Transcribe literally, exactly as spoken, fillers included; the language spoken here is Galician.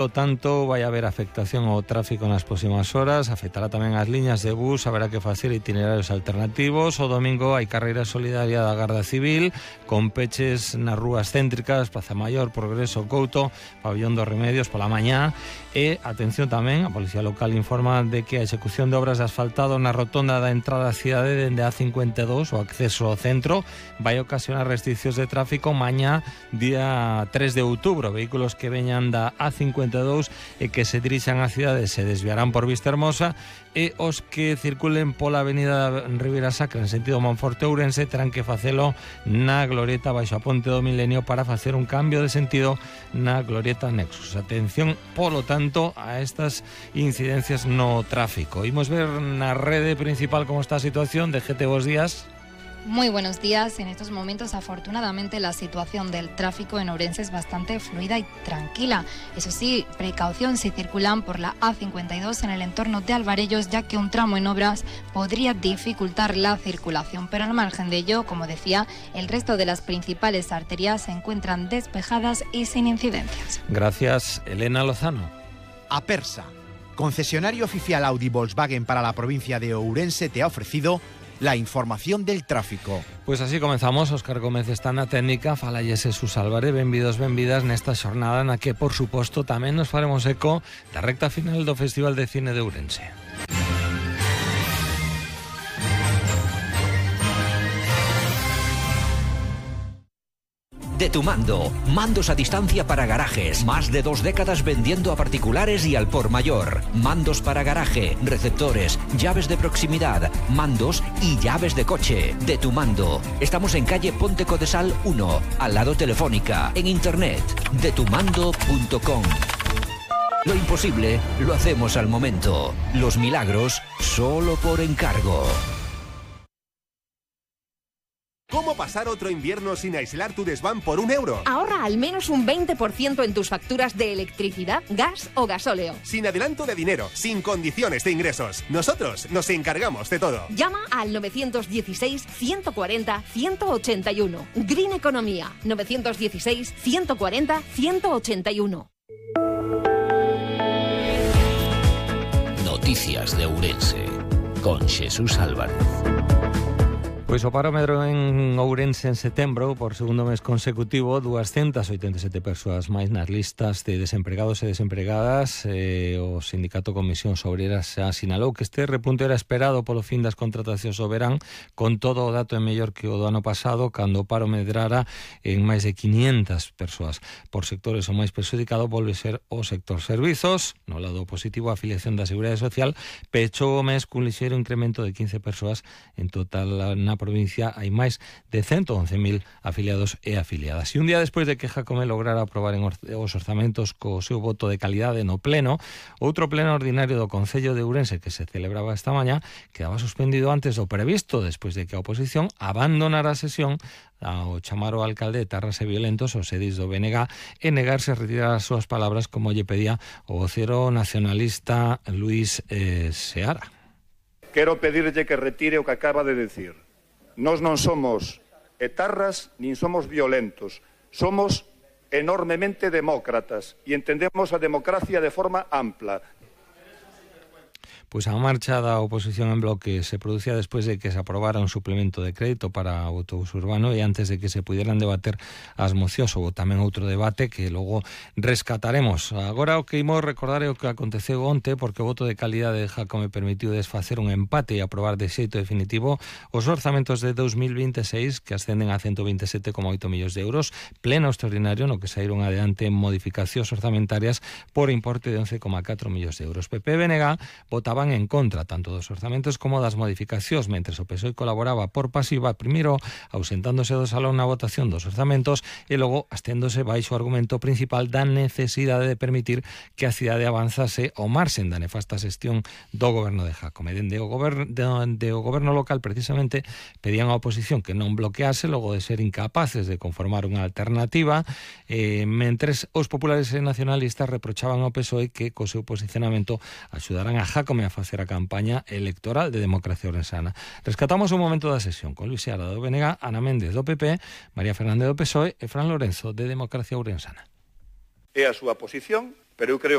Por lo tanto, vai haber afectación ao tráfico nas próximas horas, afectará tamén as liñas de bus, haberá que facer itinerarios alternativos. O domingo hai carreira solidaria da Garda Civil, con peches nas rúas céntricas, Praza Maior, Progreso, Couto, Pabellón dos Remedios pola mañá. E, atención tamén, a Policía Local informa de que a execución de obras de asfaltado na rotonda da entrada á cidade dende a cincuenta e dous, o acceso ao centro, vai ocasionar restriccións de tráfico mañá, día tres de outubro. Vehículos que veñan da A cincuenta e dous e que se dirixan á cidade se desviarán por Vista Hermosa, e os que circulen pola avenida Ribeira Sacra en sentido Monforte-Ourense terán que facelo na glorieta baixo a Ponte do Milenio para facer un cambio de sentido na glorieta Nexus. Atención, polo tanto, a estas incidencias no tráfico. Imos ver na rede principal como está a situación. De G T, bos días. Muy buenos días. En estos momentos, afortunadamente, la situación del tráfico en Ourense es bastante fluida y tranquila. Eso sí, precaución si circulan por la A cincuenta y dos en el entorno de Alvarellos, ya que un tramo en obras podría dificultar la circulación. Pero al margen de ello, como decía, el resto de las principales arterias se encuentran despejadas y sin incidencias. Gracias, Elena Lozano. Apersa, concesionario oficial Audi Volkswagen para la provincia de Ourense, te ha ofrecido la información del tráfico. Pois así comenzamos. Óscar Gómez está na técnica, falalles Jesús Álvarez. Benvidos, benvidas nesta xornada na que, por suposto, tamén nos faremos eco da recta final do Festival de Cine de Ourense. De Tu Mando, mandos a distancia para garajes, más de dos décadas vendiendo a particulares y al por mayor. Mandos para garaje, receptores, llaves de proximidad, mandos y llaves de coche. De Tu Mando. Estamos en calle Ponte Codesal uno, al lado Telefónica, en internet, de tu mando punto com. Lo imposible lo hacemos al momento. Los milagros solo por encargo. ¿Cómo pasar otro invierno sin aislar tu desván por un euro? Ahorra al menos un veinte por ciento en tus facturas de electricidad, gas o gasóleo. Sin adelanto de dinero, sin condiciones de ingresos. Nosotros nos encargamos de todo. Llama al novecientos dieciséis, ciento cuarenta, ciento ochenta y uno. Green Economía, novecientos dieciséis, ciento cuarenta, ciento ochenta y uno. Noticias de Ourense, con Jesús Álvarez. Pois o parómetro en Ourense en setembro, por segundo mes consecutivo, doscientas oitenta e sete persoas máis nas listas de desempregados e desempregadas. Eh, o Sindicato Comisións Obreras xa sinalou que este repunte era esperado polo fin das contratacións do verán. Con todo, o dato é mellor que o do ano pasado, cando o paro medrara en máis de quinientas persoas. Por sectores o máis perxudicado volve ser o sector servizos. No lado positivo, a afiliación da Seguridade Social pechou o mes cun lixeiro incremento de quince persoas. En total, na provincia hai máis de ciento once mil afiliados e afiliadas. E un día despois de que Jácome lograra aprobar en os orzamentos co seu voto de calidade no pleno, outro pleno ordinario do Concello de Ourense que se celebraba esta mañá quedaba suspendido antes do previsto, despois de que a oposición abandonara a sesión ao chamar o alcalde de Tarras e Violentos os edis do B N G e negarse a retirar as súas palabras como lle pedía o vocero nacionalista Luis eh, Seara. Quero pedirlle que retire o que acaba de decir. Nós non somos etarras nin somos violentos, somos enormemente demócratas e entendemos a democracia de forma ampla. Pois a marcha da oposición en bloque se producía despois de que se aprobara un suplemento de crédito para o autobús urbano e antes de que se pudieran debater as mocións. Houve tamén outro debate que logo rescataremos. Agora o que imos recordar é o que aconteceu onte, porque o voto de calidade de Jácome permitiu desfacer un empate e aprobar de xeito definitivo os orzamentos de dos mil vinte e seis, que ascenden a ciento veinte e sete coma oito millóns de euros, pleno extraordinario no que saíron adiante modificacións orzamentarias por importe de once coma catro millóns de euros. P P e B N G votaban en contra tanto dos orzamentos como das modificacións, mentres o P S O E colaboraba por pasiva, primeiro ausentándose do salón na votación dos orzamentos e logo asténdose baixo o argumento principal da necesidade de permitir que a cidade avanzase ao marxen da nefasta xestión do goberno de Jácome. Dende o goberno, de, de o goberno local, precisamente, pedían a oposición que non bloquease logo de ser incapaces de conformar unha alternativa, eh, mentres os populares e nacionalistas reprochaban ao P S O E que co seu posicionamento axudaran a Jácome a facer a campaña electoral de democracia ourensana. Rescatamos un momento da sesión con Luis Seara do B N G, Ana Méndez do P P, María Fernández do P S O E e Fran Lorenzo de Democracia Ourensana. É a súa posición, pero eu creo